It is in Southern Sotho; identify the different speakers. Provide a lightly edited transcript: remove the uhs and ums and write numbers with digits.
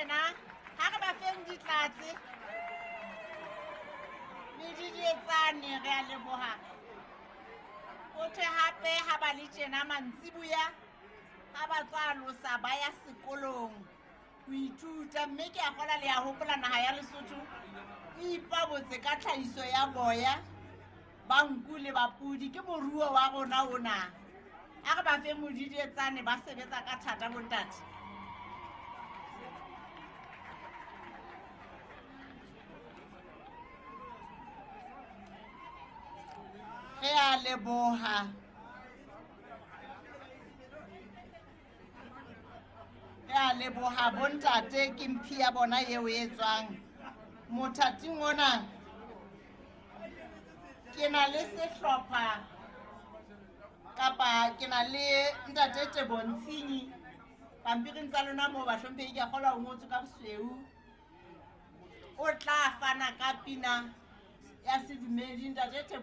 Speaker 1: tjena ha re ba feng ditlatse medidietsane, re a leboha. Ho thwe hape ha ba le tjena mantsiboya ha ba tswa alosa ba ya sekolong ho ithuta, mme ke a kgola le ya hopola naha ya Lesotho e ipabotse ka tlhahiso ya boya ba nku le ba pudi, ke moruo wa rona ona. A re ba fe modidietsane, ba sebetsa ka thata bontate. Re a leboha. Re a leboha bontate, ke mphi ya bona eo e tswang mothating ona. Ke na le sehlopha kapa ke na le ntate Tebo Ntshinyi pampiring tsa lona moo bahlomphehi, ke a kgolwa o ngotswe ka bosweu. O tla fana ka pina ya sedumedi ntate Tebo.